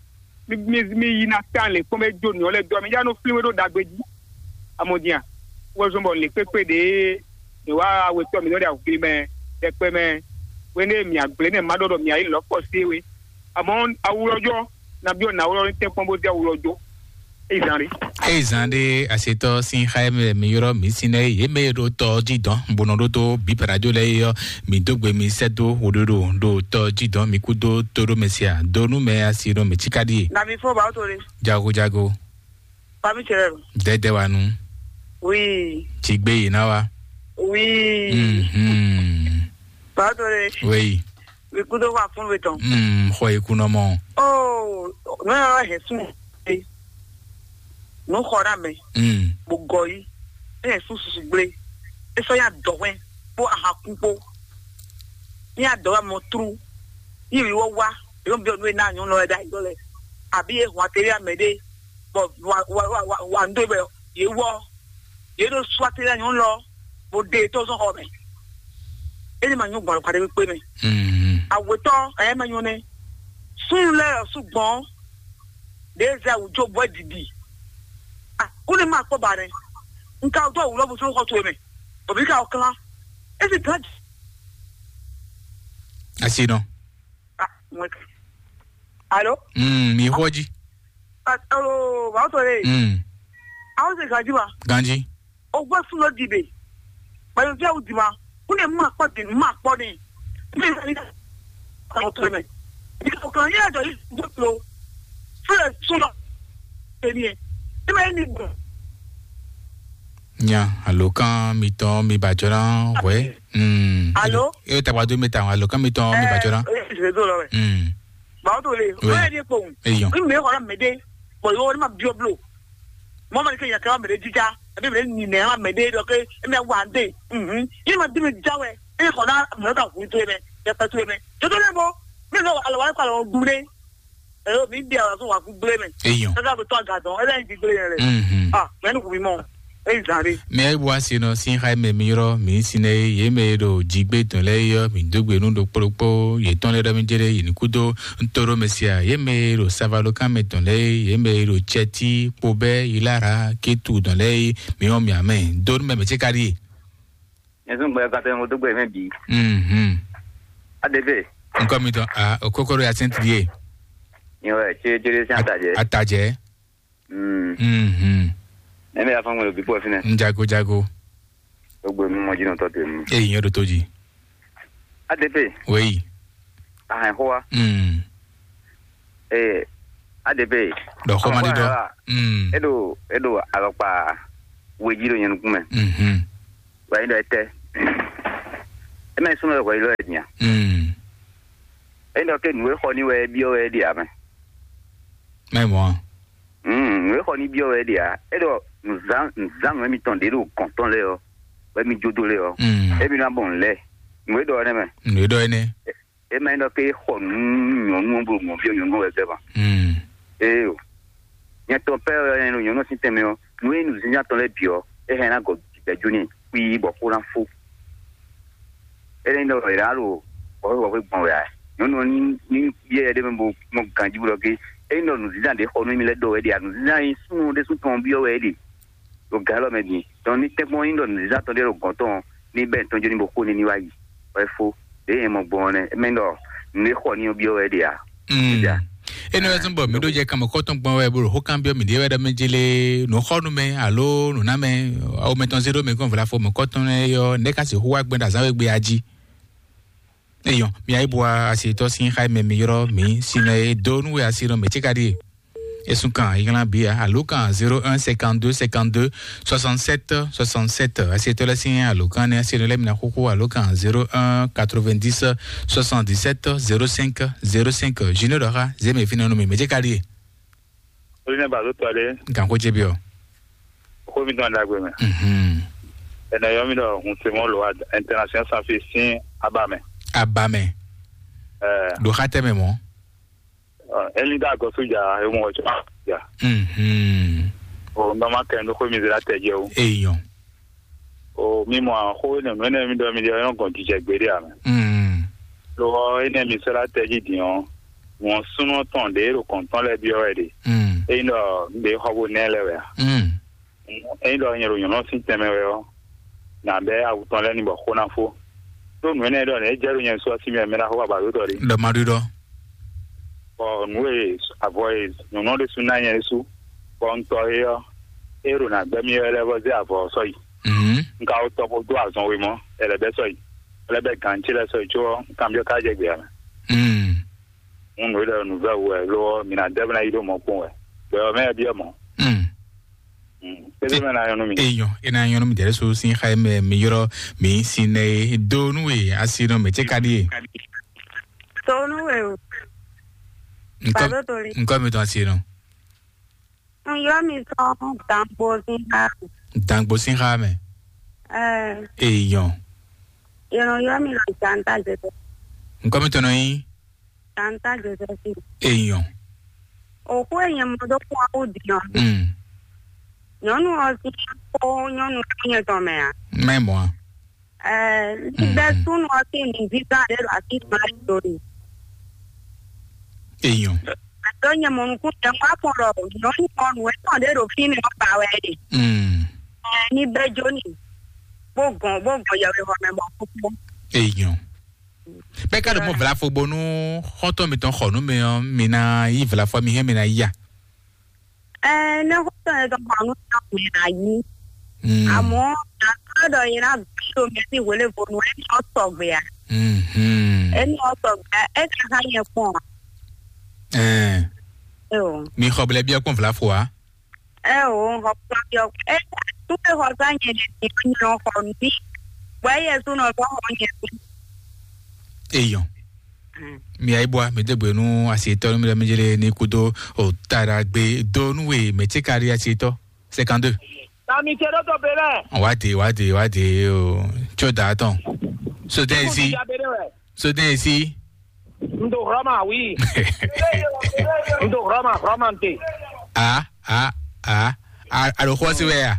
mí mí mí yi ná tán lě kpɔ́n bɔ é jó nǔ ɔ́ lɛ́ɛ dó ɔ mɛ, yá nɔ flín we ɖó ɖagbe jí. Amɔdin a, wɛ zɔn bɔ lě kpékpé ɖě è wá wetɔ́ mǐtɔn ɖe awǔgbli mɛ ɖɛkpɛ mɛ, hwenu e mǐ agblé nɛ́ ma ɖɔ ɖɔ mǐ ayǐ lɔ̌ kpɔ sé we. Amɔ̌ awulɔjɔ, nabí ɔ́ nǎ wlɔ́ ní tɛ́nkpɔ́n bó dé awulɔjɔ. Eyi zan ɖé. Eyi zan ɖé asetɔ sín xá mɛ mi yrɔ mi sin nɛ yé mɛ ɖo tɔ jí dɔn bó nɔ ɖó tó bí parajo lɛ yɔ mi dó gbe mi sɛ dó wòɖoɖo ɖo tɔ jí dɔn mi kú dó tó ɖó mɛ sia dó nú mɛ asi ɖo mɛ tsika ɖíe. Na mi fɔ ba to le. Jago jago. Ba mi cɛ. Dɛdɛ wa nu. Oui. Tsigbe yi na wa. Oui. Mhm. Ba to le. Oui. Vikudo wa fún we tɔn. Mm, xɔ yi kunɔ mɔ. Oh, no ya he sun. No xɔ na me. Mm. Bo gɔ yi. E he sun susu gble. E so ya dɔ hwɛ. Bo aha kun po. Ni ya dɔ wa mɔ tru. Ni wi wɔ wa. Yo bi onu na nyu lɔ da yo le. Abi e hwa teri ame de. Bɔ wa wa wa wa wa ndo be ye wɔ. Ye ɖo suatela nyɔnu lɔ, bo ɖe tɔzɔn xɔ mɛ. Eni ma nyɔ gbɔn kpaɖe kpé mɛ. Awetɔ ɛyɛ ma nyɔ nɛ. Sun lɛ su gbɔn. Ɖe zɛ awu jo bɔ didi. Ah, kó ne ma kpɔ ba nɛ. Nka do awu lɔ bo so xɔ to mɛ. Obi ka o klan. Esi gan. Asi nɔ. Ah, mwe. Alo? Mm, mi xɔ ji. Ah, alo, ba to le. Mm. Awo se ganji ba. Ganji. O gbɔ sun lɔ di be. Ba yo fia o di ma. Ko ne ma kpɔ di, ma kpɔ ni. Mi ni ka o to mɛ. Ni ka o kan ye do yi do lo. Fle sun lɔ. Eni. Ni ma ni gbɔ. Nya alo kan mi tɔn mi ba jɔna wɛ. Mm. Alo? E ta wa do mi ta alo kan mi tɔn mi ba jɔna. Eh, je do lɔ wɛ. Mm. Ba o to le. Oui. Wɛ ni ko. Eyan. Mi me ko na me de. Bo yo ni ma bio blo. Mɔ ma ni ke nya ka mɛ ɖe jija, ebi mɛ ni nɛ ma mɛ ɖe ɖɔ ke emi awa de. Mhm. Yi ma di mi ja wɛ. E xɔ na mɛ ka hu to mɛ, ya pa to mɛ. To to le bo. Mi lo alo wa ka lo du le. E o mi di ala so wa ku gble mɛ. Eyan. Ka ka to ga dɔn, e la di gble yɛ le. Mhm. Ah, mɛ nu ku mi mɔ. E zan de. Mɛ e bua si nɔ sin xa mɛ mi yɔrɔ mi sin ne ye mɛ ɖo jigbe tɔn lɛ yɔ mi dogbe nu ɖo kplokpo ye tɔn lɛ ɖɔ mi jere yi ni kudo. Ntoro Mesia, ye mɛ e ɖo Savalokan mɛ tɔn lɛ, ye mɛ e ɖo Tsɛti, Kpobɛ, Ilara, Ketu tɔn lɛ, mi wɔn mi amɛ. Donu mɛ mɛ tse ka ɖi. Ɛsùn gbɛ kata mo dó gbɛ mɛ bi. Mhm. Adebe. Nkɔ mi tɔn a okoko ɖo yasɛn ti ye. Nyɛ wɛ, céɖécéɖé sín atajɛ. Atajɛ. Mm. Mhm. Ɛmɛ ya fɔn ŋmɛ ɖo bíbɔ fínɛ. Njago jago. Gbogbo mi mɔ jí nɔ tɔ te mu. Eyi nyɔ ɖo tó jí. A D P. Weyi. Ahɛn xó wa. Mm. Ee, A D P. Ɖɔ xó ma ɖi ɖɔ. Mm. E ɖo, e ɖo alɔkpa we jí ɖo nyɛ nukún mɛ. Mhm. Wɛ yi ɖɔ etɛ. E mɛ súnmọ́ wɛ yi lɔ yɛ nya. Mm. E ɖɔ ke nǔ e xɔ ní wɛ e byɔ́ wɛ e ɖe amɛ. Mɛ mɔ. Mm, nǔ e xɔ ní byɔ́ wɛ é ɖe ǎ. É ɖɔ nǔzán nǔzán nǔ émitɔn ɖě ɖo gɔ̌n tɔn lɛ́ɛ ɔ́, wɛ mi jó dó lɛ́ɛ ɔ́, Mm. émi ná bɔ nǔ lɛ́ɛ. Nǔ e ɖɔ ɔ́ nɛ́ mɛ. Nǔ e ɖɔ énɛ́. É má nyí ɖɔ ké é xɔ nǔ nyɔ̌nu ɔ́ bó ɖo mɔ̌ byɔ́ nyɔ̌nu ɔ́ wɛ gbɛ́ ba. Mm. Éeǒ. Nyɛ tɔn pɛ́ ɔ́, nyɛ ɖo nyɔ̌nu ɔ́ sín tɛnmɛ ɔ́, nǔ e nǔzínzán tɔn lɛ́ɛ bǐ ɔ́, é hɛn ná gɔ jǐgbɛ́ jó n'i xwíí bɔ xó ná fó. É nyí ɖɔ è nǎ ɖo wɔ̌xwé wɔ̌xwé gbɔn wɛ ǎ. Nyɔ̌nu ɔ́ ní ní byɔ́ yɛ ɖé mɛ bó mɔ ganjí bó ɖɔ gé. É nyí ɖɔ nǔzínzán ɖě xɔ nú émí lɛ́ɛ ɖɔ wɛ é ɖe ǎ. Nǔzínzán e súnnu ɖésú tɔn byɔ́ wɛ é ɖe ɖo gǎ élɔ́ mɛ din. Dɔn ní tɛ́nkpɔ́n nyí ɖɔ nǔzínzán tɔn ɖé ɖo gɔ̌n tɔn ɔ́, ní bɛ́ tɔn jó ní bó xó ní ní wá yi. Wɛ fó. Ɖě nyɛ mɔ gbɔn ɔ́ nɛ́. É mɛ ɖɔ nǔ e xɔ ní ɔ́ byɔ́ wɛ é ɖe ǎ. Mm. Énɛ́ wɛ zɔ́n bɔ mǐ ɖó jɛ kanmɔkɔ́tɔn gbɔn wɛ bó ɖo xó kanbyɔ́ mǐɖée wɛ ɖɔ mɛ jélé nǔxɔ́númɛ alo nǔnámɛ awomɛtɔn zé ɖó mɛ kɔn vlafo mɔ̌kɔ́tɔn lɛ́ɛ ɔ́, nɛ̌ ka sixú wá gbɛn ɖo azǎn we gbé a jí? Eyɔn, mi ayíbua asitɔ sín xá mɛ mi yrɔ mi sinɛ e do nú we asi nɔ mɛ tí ka ɖíe. Esun kan ayíglán bia alo kan zéro un cinquante-deux cinquante-deux soixante-sept soixante-sept. Asitɔ lɛ sín alo kan ne asi nɔ lɛ mina xúxú alo kan zéro un quatre-vingt-dix soixante-dix-sept zéro cinq zéro cinq. Junior dɔ xá zé mɛ fínɛ nú mi mɛ tí ka ɖíe. Olinɛ ba do tɔ ɖe. Gan ko jebi ɔ. Ko mi tɔn dagbe mɛ. Mhm. Ene yɔ mi dɔ hun se mo lo international sanfi sin aba mɛ. Aba mɛ. Eh. Do xa tɛ mɛ mɔ. Eli da gɔsu ja e mo ja. Mhm. O ndɔ ma kɛ ndo ko mi zira tɛ je o. Eyɔn. O mi mɔ xó ne nɔ ne mi dɔ mi dɔ yɔn gɔn jijɛ gbe de amɛ. Mm. Lo ene mi sera tɛ ji din o. Wọn súnú tɔn ɖě ɖo kɔ̌ntɔn lɛ́ɛ byɔ́ wɛ ɖe. Mm. Ényí ɖɔ un ɖe xɔ bó nɛ́ lɛ́ɛ wɛ a? Mm. Ényí ɖɔ nyɛ ɖo nyɔ̌nu sín tɛnmɛ wɛ ɔ́, nǎ bɛ́ awu tɔn lɛ́ɛ ní bɔ xó ná fó. Ɖó nǔ énɛ́ ɖɔ nɛ̌ jɛ ɖo nyɛ su ɔ́ sí mɛ mɛ ná xó baba ɖó ɖɔ ɖi. Ɖɔ ma ɖi ɖɔ. Bɔ nǔ e avɔ e nyɔ̌nu ɔ́ ɖésú ná nyɛ ɖésú, bɔ un tɔ é ɔ́, é ɖo nǎ gbɛ́ mì wɛ lɛ́ɛ vɔ zé avɔ ɔ́ sɔ́ yi. Mhm. Un ka wó tɔ bó dó azɔn wemɔ, ɛ lɛ́ bɛ́ sɔ́ yi, ɛ lɛ́ bɛ́ gǎn ce lɛ́ɛ sɔ́ yi có ɔ́, un kanbyɔ́ ká jɛ gbě ǎ mɛ. Mm. Un nǔ e ɖɔ nǔvɛ́ wú wɛ lo ɔ́, mi ná dɛ́ bó ná yi ɖó mɔ̌ kpɔ́n wɛ. Gbɛ ɔ́ mɛ byɔ́ mɔ̌. Mm. Mm. Tɛ́ mɛ ná nyɔ́ nú mi. Eyɔn, e ná nyɔ́ nú mi dɛ̌ so sín xa e mɛ mi yrɔ mi sin nɛ e do nú we asi nɔ mɛ cɛ ka ɖíe. Tonu we o. Nkɔ Bado Toli. Nkɔ mi tɔn asi nɔ. N yɔ mi sɔn Dangbo sin xa. Dangbo sin xa mɛ. Ɛɛ. Eyɔn. Yɛn yɔ mi lɔ Janta Joseph. Nkɔ mi tɔn nɔ yi. Tanta Joseph. Eyɔn. Òkú èèyàn mọ tó kún ɔkú dìyàn. Mm. Nyɔnu ɔsí kó nyɔnu yẹn tɔn mɛ a? Mɛ mɔ a? Ɛɛ, nígbà súnú ɔsí ní dídá rẹ lọ àti ìgbà ìdòrè. Eyɔn. Àtọ́ yẹn mọ nukún yẹn wá fún lọ, nyɔnu ɔnu ẹ̀ tàn dé ɖo fí mi ɔba wɛ ɖe. Mm. Ɛɛ, ní bɛ́ jó ni. Bó gɔn, bó gɔn yẹ̀wé hɔ mɛ mɔ kúkú. Eyɔn. Bɛ́ ka ɖo mɔ vlafo bónú xɔ́ntɔn mitɔn xɔ nú mi ɔ́, mi ná yí vlafo mi hɛn mi ná yí a? Ɛɛ, ne xɔ́ntɔn yɛn tɔn xɔ nú mi ɔ́, mi ná yí. Mm. Àmọ́ àtúrò ɖɔ yẹn ná bí omi sí wòlé bónú ẹ̀ ní ọ̀ sɔ̀gbé a? Mhm. Ẹ̀ ní ọ̀ sɔ̀gbé a? Ẹ̀ ní ká yẹn kpɔn a? Ɛɛ. Ẹ o. Mi xɔ blɛ biɛ kpɔn vlafo a? Ɛ o, xɔ kpɔ́n yɔ. Ɛ, tu ke xɔ sa nyɛ ɖe ti nyɔ xɔ mi. Bɔ ɛ yɛ su nɔ bɔ xɔ nyɛ mi. Eyɔn. Mm. Mi ayi bwa mi degbe nu asitɔ nu mi lɛ mi jele ni kudo o tara gbe do nu we mɛ tse kari asitɔ. Cinquante-deux. Tami tse ɖo tɔ be lɛ. Wa de, wa de, wa de o. Tso da tɔn. So den esi. So den esi. N do Roma, oui. N do Roma, Roma n te. Ah, ah, ah. A, a ɖo xɔ si wɛ ya?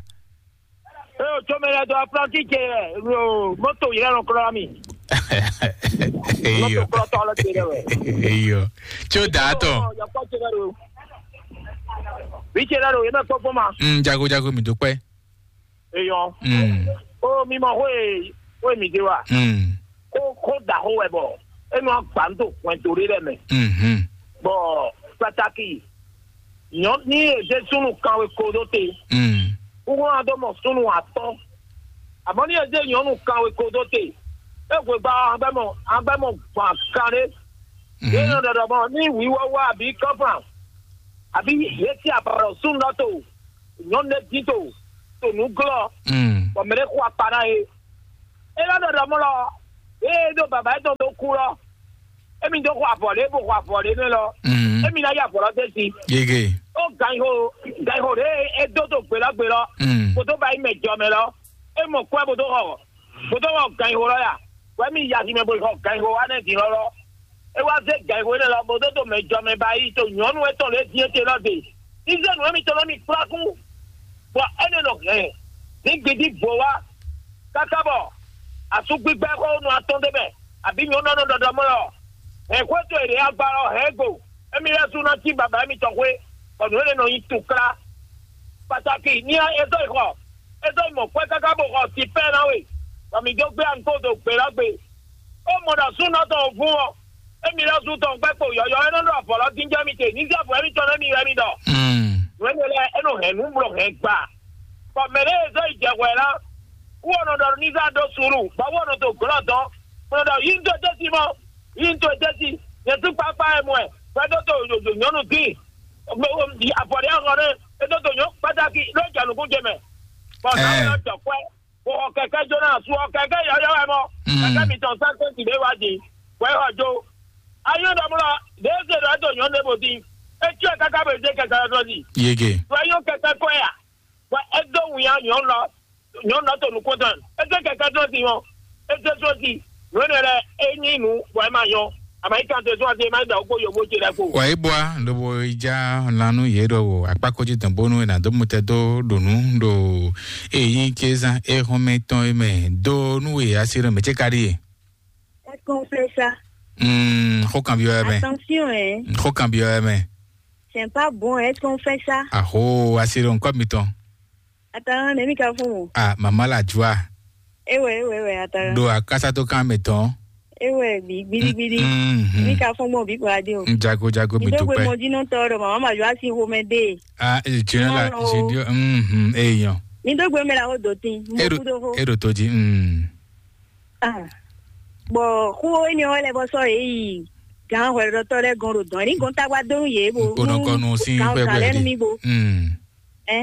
Ee, o tso mɛ lɛ dɔ aplanti ce, o moto yɛrɛ lɔ kura mi. Eyo. Moto kura tɔ lɛ ce lɛ wɛ. Eyo. Tso da tɔ. Yakɔ ce lɛ do. Bi ce lɛ do, yɛ mɛ kpɔkpɔ ma. Mm, jago, jago, mi do kpɛ. Eyɔn. Mm. O mi mɔ xó e xó e mi de wa. Mm. Xó xó da xó wɛ bɔ e nɔ agba n to hwɛn to ɖe lɛ mɛ. Mhm. Bɔ Kpataki, nyɔ̌ ní è zé súnnu kanwe ko dó te. Mm. Kúkú ná dó mɔ súnnu atɔ́. Àmọ́ ní è zé nyɔ̌nu kanwe ko dó te, é hwegba ɔ́, agbɛ́ mɔ agbɛ́ mɔ gbɔn akanɖé. Yě nɔ ɖɔɖɔ mɔ ní wǐwɔ́ wá abǐ kɔ́flan, abǐ yě cí abɔ̌ súnnu ɔ́ to, nyɔ̌nu ɖé dín to, to nǔ glɔ́, Mm. bɔ mɛ ɖé xo akpa ná yě. É nɔ ɖɔɖɔ mɔ lɔ, ée é ɖó baba étɔn dó kú lɔ, émí dó xo avɔ lě bó xo avɔ lě nɛ́ lɔ, Mm. émí ná yí avɔ lɔ dó sí. Yege. Ó ganxo ganxo ɖě é dó dó gbelɔ́ gbelɔ́, Mm. bó dó ba yi mɛ jɔ mɛ lɔ, é mɔ kwɛ́ bó dó xɔ bó dó xɔ ganxo lɔ ya, wɛ mí yi aximɛ bó yi xɔ ganxo wá nɛ́ din lɔ lɔ. É wá zé ganxo énɛ́ lɔ bó dó dó mɛ jɔ mɛ ba yi to nyɔ̌nu étɔn lě din étɛn lɔ de. Izé nǔ émítɔn nɔ mì kplá kú, bɔ énɛ́ nɔ hɛn ní gbidí bó wá, káká bɔ asúgbígbɛ́ xó nú atɔ́n d'é mɛ, abǐ nyɔ̌nu ɔ́ nɔ ɖɔɖɔ mɔ lɔ, hɛn xwé towe ɖě agba lɔ hɛn é gbo, émí lɛ́ɛ sú ná cí baba émítɔn xwé, bɔ nǔ énɛ́ nɔ nyí tukla. Pataki ní é dó yi xɔ, é dó yi mɔ kwɛ́ káká bó xɔ sipɛ́ ná we, bɔ mǐ dó gbé ankó dó gbě lɔ gbe. Ó mɔ ɖɔ súnɔ tɔn vún ɔ́, émí lɛ́ɛ sú tɔn gbɛ́ kpo yɔ̌yɔ́ é nɔ ɖɔ avɔ lɔ dín jɛ mì te, ní zé avɔ émítɔn nú émí wɛ mì ɖɔ. Mm. Nǔ énɛ́ lɛ́ɛ é nɔ hɛn nǔ bló hɛn gba. Bɔ mɛ ɖé e zɔ́ yi jɛ hwɛ ná, wú ɔ́ nɔ ɖɔ ní zá ɖó suúlu, bɔ wú ɔ́ nɔ to glɔ́ dɔn, bó nɔ ɖɔ yí ń tó etɛ́ sí mɔ, yí ń tó etɛ́ sí, nyɛ tún kpákpá wɛ mɔ ɛ, hwɛ dó to yǒyǒ nyɔ́nu dín. Avɔ ɖé ahɔn ɖé, é dó to nyɔ̌ kpátákí, ló jɛ nǔkún ce mɛ. Bɔ nǎwe ɔ́ jɔ kwɛ́, bó xɔ kɛkɛ́ jóná, su ɔ kɛkɛ́ yɔ́yɔ́ wɛ mɔ, Mm. kɛkɛ́ mitɔn sɛ́n sɛ́nti ɖé wá din, bɔ é xɔ jó. Ayɔ́ ɖɔmlɔ, ɖě é se ɖɔ é to nyɔ̌nu ɖěvo dín, é cyɔ́ ɛ káká bɔ é zé kɛkɛ́ ɔ́ dó zi. Yege. Bɔ é nyɔ́ kɛkɛ́ kɔ́ ɛ a? Bɔ é dó wǔnya nyɔ̌nu lɔ, nyɔ̌nu lɔ to nukún tɔn, é zé kɛkɛ́ dó sin ɔ́, é zé só sin, nǔ énɛ́ lɛ́ɛ é nyí nǔ bɔ é ma nyɔ́. Amɛ̌yíkan te zɔ́n ase é má da wǔ kpó yǒgbó ce lɛ́ɛ kpo. Wǎ yi bwa lobo yi já lan nú yě ɖɔhun akpákó jí dɔn bónú è nǎ dó mutɛ dó ɖo nǔ ɖo èyí kézán éhɔ́nmɛ tɔn é mɛ dó nú e asi ɖɔ mɛ ce ka ɖíe. Est-ce qu'on fait ça? Mm, xó kan byɔ́ ɛ mɛ. Attention, hein. Xó kan byɔ́ ɛ mɛ. C'est pas bon, est-ce qu'on fait ça? Aho, asi ɖo ŋkɔ mitɔn. Attention, ne mi ka fún o. Ah, mama la joie. Ewe, ewe, ewe, attention. Ɖo akásátó kan mɛ tɔn. Ewe, bi, gbidi, gbidi. Mm, mm, mm. Mi ka fún gbɔn bi kura di o. Jago, jago, mi dó gbe dúpẹ́. Mɔ jí nɔ tɔ ɖɔ mama ma joie si xomɛ dé. Ah, eh, tu n'as la, non, non. J'ai dit, mm, mm, eh, yon. Mi dó gbe mɛ la xó dó tin. Mo Eɖo, kú dó xó. Eɖo tó jí. Mm. Ah. Bɔ xó énɛ́ ɔ́ lɛ́ bɔ sɔ́ yě yi gǎn hwɛɖɔtɔ́ lɛ́ɛ gɔ́n ɖo dɔ̌n. Ní gɔ́n tágbá dó nú yé bo Kpónɔ kɔnu sín gǎn xwé gǎn lɛ́ɛ nú hwɛhwɛ mì bo. Mm. Ɛ?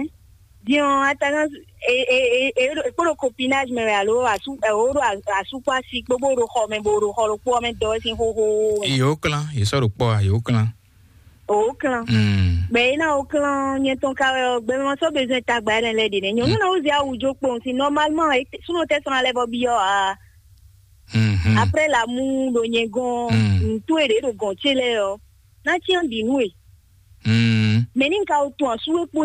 Diɔn atagán e e e e kpóɖo copinage mɛ wɛ alo asú ɛ o ɖo asúkpó asi kpó bó ɖo xɔ mɛ bo ɖo xɔ ɖokpó ɔ́ mɛ dɔ wɛ sín xóxó mɛ. Yě wó klán, yě sɔ́ ɖo kpɔ́ a, yě wó klán. O klán. Mm. Gbɛ yìí náà o klán nyɛ tɔn ka wɛ ɔ gbɛ ma sɔ bezɔn tagba yɛ lɛ ɖe nɛ nyɔnu náà o zi awu jo kpɔn si normalement e súnú tɛ sɔn alɛ bɔ bi ɔ a Mm-hmm. Après la mu ɖo nyɛ gɔn Mm. Ntu e ɖe ɖo gɔn ce lɛ ɔ na tiɲɛ bi nu e Mm. Mɛ ni ka o tun asu e kpo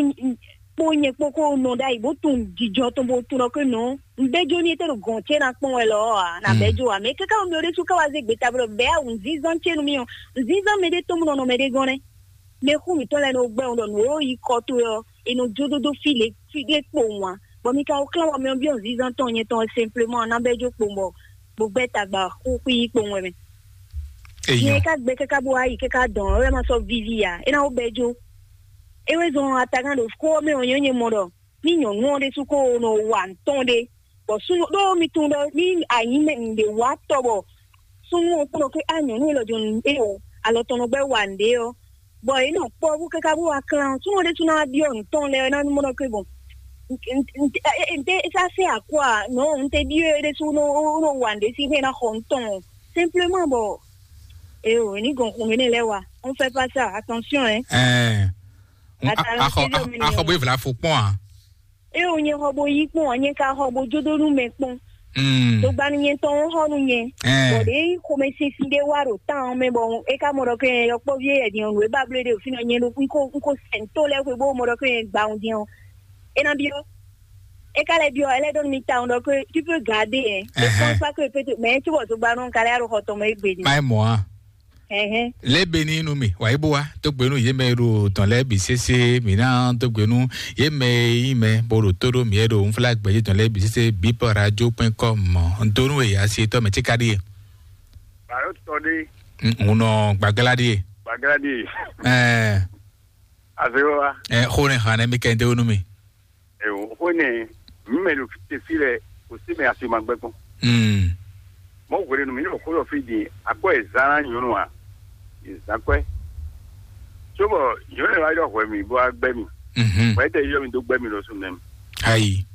kpo nyɛ kpo ko nɔ ɖa yi bo tun jijɔ tɔn bo tun ɖɔ ke nɔ n bɛ jo ni e te ɖo gɔn ce na kpɔn wɛ lɔ a na bɛ jo a mɛ kaka o mi o ɖe su ka wa ze gbeta bɔ bɛ awu nzinzan ce nu mi ɔ nzinzan mɛ ɖe tɔn mu nɔ nɔ mɛ ɖe gɔn nɛ mɛ xú mi tɔn lɛ no gbɛ ŋu ɖɔ nu o yi kɔ to yɔ e nɔ jo dodo fi le fi ɖe kpo ŋu a bɔ mi ka o klan wɔ mɛ ɔ bi ɔ nzinzan tɔn nyɛ tɔn simplement na bɛ jo kpo bɔ bo gbɛ tagba xú xú yi kpo ŋu wɛ mɛ. Nyɛ Eyan. Ka gbɛ kaka bo ayi kaka dɔn ɔ ma sɔ vivi a e na wo bɛ jo e wɛ zɔn atagan ɖo kó mɛ ɔ nyɛ nyɛ mɔ ɖɔ mi nyɔnu ɔ ɖe su ko nɔ wa ntɔn ɖe bɔ sunnu ɖo mi tun ɖɔ mi anyi mɛ ŋɖe wa tɔ bɔ sunnu ɔ kplɔ ke a nyɔnu e lɔ jɔ nu e o alɔ tɔn nɔ gbɛ wa ŋɖe ɔ bɔ e nɔ kpɔ bó kaka bó wa klan sunnu ɔ ɖe su na wa biɔ ntɔn lɛ na mɔ ɖɔ ke bɔn nte sa se akɔ a nɔ nte biɔ e ɖe su nɔ wa ŋɖe si xɛ na xɔ ntɔn simplement bɔ e o ni gɔn kun ne lɛ wa on fait pas ça attention hein. Ɛɛ, Ata- axɔ ata- axɔ bó evla fo kpɔn a. Eye wònye xɔ bo yí kpɔn ɔ nye ka xɔ bo jódó nú mɛ kpɔn Mm. Togbanu nye tɔn xɔ nú nye Ɛɛ. Bɔɖe xomɛsinsin ɖé wá ɖo tán ɔ́ mɛ bɔ é ká mɔ ɖɔ kɛ yɔkpɔ́ví e yɛ din ɔ́ nǔ e ba bló ɖe òfin ɔ́ nye ɖo n ko n ko sɛn tó lɛ́ɛ xwe bó mɔ ɖɔ kɛ yɛ gba ɔ́ din ɔ́ é ná byɔ́ é ká lɛ́ byɔ́ ɛ lɛ́ ɖɔ nú mi tawun ɖɔ kɛ tu peux garder ɛ Ɛhɛn. Pense pas que peut mais tu vois togbanu ɔ́ ka lɛ́ ɖo xɔ tɔn mɛ égbé din Má é mɔ á. Ɛhɛn. Lě be ní nú mì, wǎ yí bó wá, dó gbe nú yě mɛ e ɖo dɔ̌n lɛ́ɛ bǐ sésé, mǐ ná dó gbe nú yě mɛ e nyí mɛ bó ɖo tó ɖó mǐ e ɖo unflá gbɛ̌jé dɔ̌n lɛ́ɛ bǐ sésé, bǐ pɔ́ radio kpɛ́n kɔ́ mɔ̌. Un dó nú we, asi tɔ́ mɛ cíká ɖíe. Bǎyɔ́ tɔ ɖé. Un nɔ gbaglá ɖíe. Bagladi. Ɛɛ. Azewa. Ɛ xó ne hàn mi kɛ ndé wónú mi. Ewo xó ne mi mɛ lo te fi lɛ o si mɛ asi ma gbɛ kpɔn. Mm. Mɔ hwele nu mi ni xó yɔ fi di akɔ ezan nyɔnu a ezan kɔɛ. Tso bɔ nyɔnu wa yɔ hwɛ mi bo agbɛ mi. Mhm. Wɛ tɛ yɔ mi do gbɛ mi lɔ su nɛ mi. Ayi.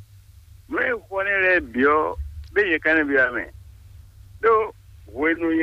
Nu e xɔ ne lɛ biɔ be ye kan ne bi amɛ. Do hwenu ye